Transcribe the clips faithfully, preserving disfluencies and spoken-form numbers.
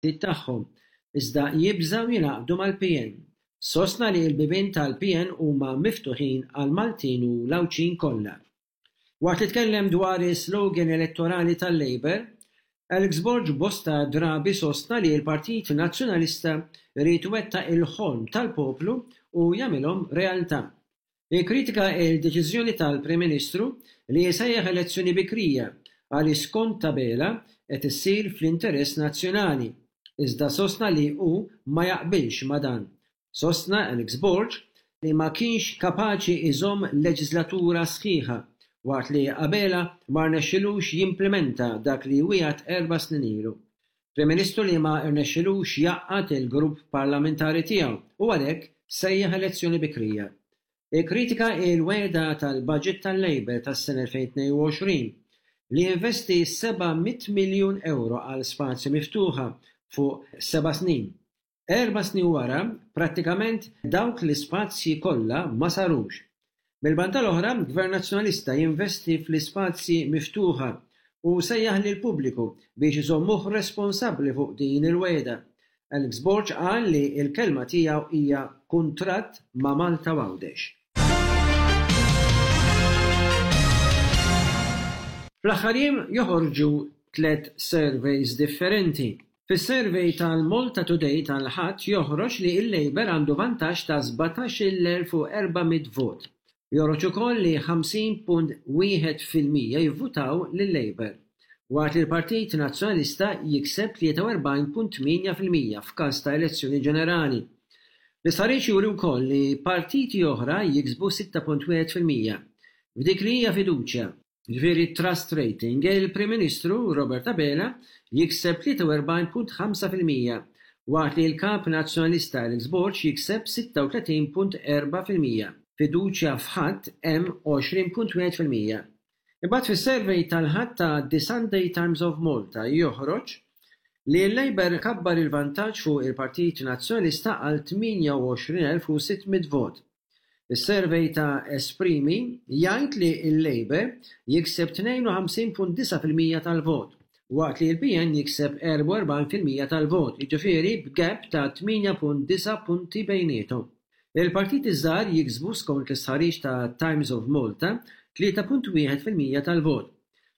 Tal-partit tagħhom, iżda jibżgħu jingħaqdu mal-P N. Sostna li l-bibien tal-P N huma miftuħin għal Maltin u l-Għawdxin kollha. Waqt li tkellem dwar is-slogan elettorali tal-Labour, Alex Borg bosta drabi sostna li l-Partit Nazzjonalista irid iwettaq il-ħolm tal-poplu u jagħmilhom realtà. Ikkritika il-deċiżjoni tal-Prim Ministru li jsejjaħ elezzjoni bikrija għal skont Abela qed issir fl-interess nazzjonali, iżda sostna li hu ma jaqbilx ma dan. Sostna Alex Borg li ma kienx kapaċi iżomm leġislatura sħiħa, waqt li Abela ma rnexxilux jimplementa dak li wiegħed erba' snin ilu. Prim Ministru li ma rnexxilux jgħaqqad il-grupp parlamentari tiegħu u għalhekk sejjaħ elezzjoni bikrija. Ikkritika il-wegħda tal-budget tal-Labour tas-sena elfejn u tnejn u għoxrin li investi seba' mitt miljun euro għal spazji miftuħa fuq seba' snin. Erba' snin wara, prattikament dawk l-ispazji kollha ma sarux. Mill-banda l-oħra, Gvern Nazzjonalista jinvesti fl-ispazji miftuħa u sejjaħ lill-pubbliku biex iżommuh responsabbli fuq din il-wegħda. Alex Borg qal li l-kelma tiegħu hija kuntratt ma' Malta Għawdex. Fl-aħħar jiem joħorġu tliet surveys differenti. Fis-survey tal-Malta Today tal-Ħadd joħroġ li l-Labour għandu vantaġġ ta' sbatax-il elf u erba' mitt vot. Joħroġ ukoll li ħamsin punt wieħed fil-mija jivvutaw lil-Labour, waqt li l-Partit Nazzjonalista jikseb tlieta u erbgħin punt tmienja fil-mija f'każ ta' elezzjoni ġenerali. L-istħarriġ juri wkoll li partiti oħra jiksbu sitta punt wieħed fil-mija. F'dik li hija fiduċja, ġifieri trust rating, il-Prim Ministru Robert Abela jikseb tlieta u erbgħin punt ħamsa fil-mija, waqt li l-Kap Nazzjonalista Alex Borg jikseb sitta u tletin punt erbgħa fil-mija. Fiduċja f'ħadd hemm għoxrin punt wieħed fil-mija. Imbagħad fis-survey tal-Ħadd ta' The Sunday Times of Malta joħroġ li l-Labour kabbar il-vantaġġ fuq il-Partit Nazzjonalista għal tmienja u għoxrin elf u sitt mitt vot. Is-survey ta' Esprimi jgħid li l-Labour jikseb tnejn u ħamsin punt disgħa fil-mija tal-vot, waqt li l-P N jikseb erbgħa u erbgħin fil-mija tal-vot, jiġifieri b'gap ta' tmienja punt disgħa punti bejniethom. Il-partiti żgħar jiksbu, skont l-istħarriġ ta' Times of Malta, tlieta punt wieħed fil-mija tal-vot.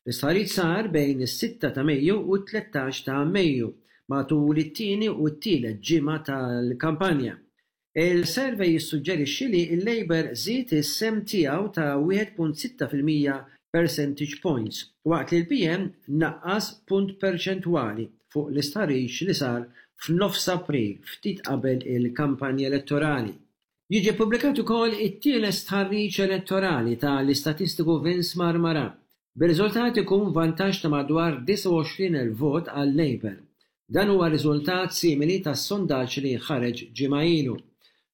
L-istħarriġ sar bejn is-sitta ta' Mejju u t-tlettax ta' Mejju, matul it-tieni u t-tielet ġimgħa tal-kampanja. Il-survey jissuġġerixxi li l-Labour żied is-sehem tiegħu ta' wieħed punt sitta fil-mija percentage points, waqt li l-P N naqqas punt perċentwali fuq l-istħarriġ li sar f'nofs April, ftit qabel il-kampanja elettorali. Jiġi ppubblikat ukoll it-tielet stħarriġ elettorali tal-istatistiku Vince Marmara. Bir-riżultat ikun vantaġġ ta' madwar disgħa u għoxrin elf vot għal Labour. Dan huwa riżultat simili tas-sondaġġ li ħareġ ġimgħa ilu.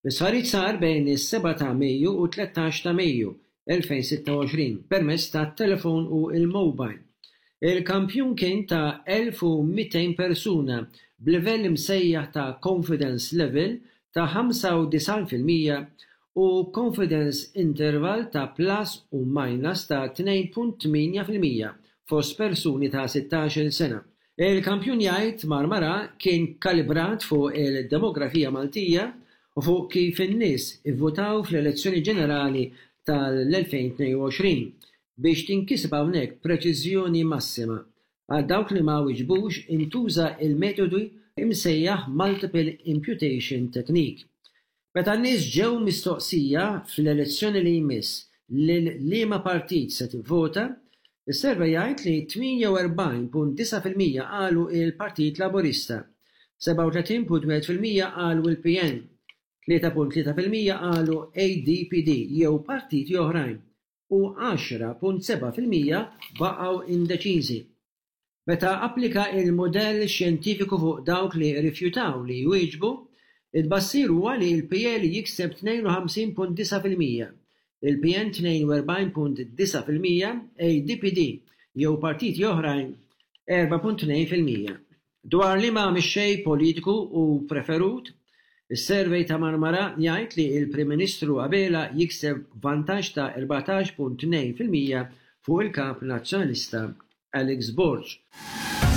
L-istħarriġ sar bejn is-sebgħa ta' Mejju u tlettax ta' Mejju elfejn u sitta u għoxrin permezz tat-telefon u l-mobile. Il-kampjun kien ta' elf u mitejn persuna b'livell imsejjaħ ta' confidence level ta' ħamsa u disgħin fil-mija u confidence interval ta' plus u minus ta' tnejn punt tmienja fil-mija fost persuni ta' sittax-il sena. Il-kampjun, jgħid Marmara, kien kalibrat fuq il-demografija Maltija u fuq kif in-nies ivvutaw fl-elezzjoni ġenerali tal-elfejn u tnejn u għoxrin biex tinkiseb hawnhekk preċiżjoni massima. Għal dawk li ma wiġbux intuża il-metodu imsejjaħ Multiple Imputation Technique. Meta n-nies ġew mistoqsija fl-elezzjoni li jmiss lil liema partit se tivvota, is-survey jgħid li tmienja u erbgħin punt disgħa fil-mija qalu il-Partit Laburista, sebgħa u tletin punt wieħed fil-mija qalu il-P N, tlieta punt tlieta fil-mija qalu A D P D jew partiti oħrajn u għaxra punt sebgħa fil-mija baqgħu indeċiżi. Meta applika il-modell xjentifiku fuq dawk li rifjutaw li jwieġbu, it-tbassir huwa li l-P L jikseb tnejn u ħamsin punt disgħa fil-mija, il-P N tnejn u erbgħin punt disgħa fil-mija, A D P D jew partiti oħrajn erbgħa punt tnejn fil-mija. Dwar liema mexxej politiku hu preferut, is-survey ta' Marmara jgħid li l-Prim Ministru Abela jikseb vantaġġ ta' erbatax punt tnejn fil-mija fuq il-kap nazzjonalista Alex Borg.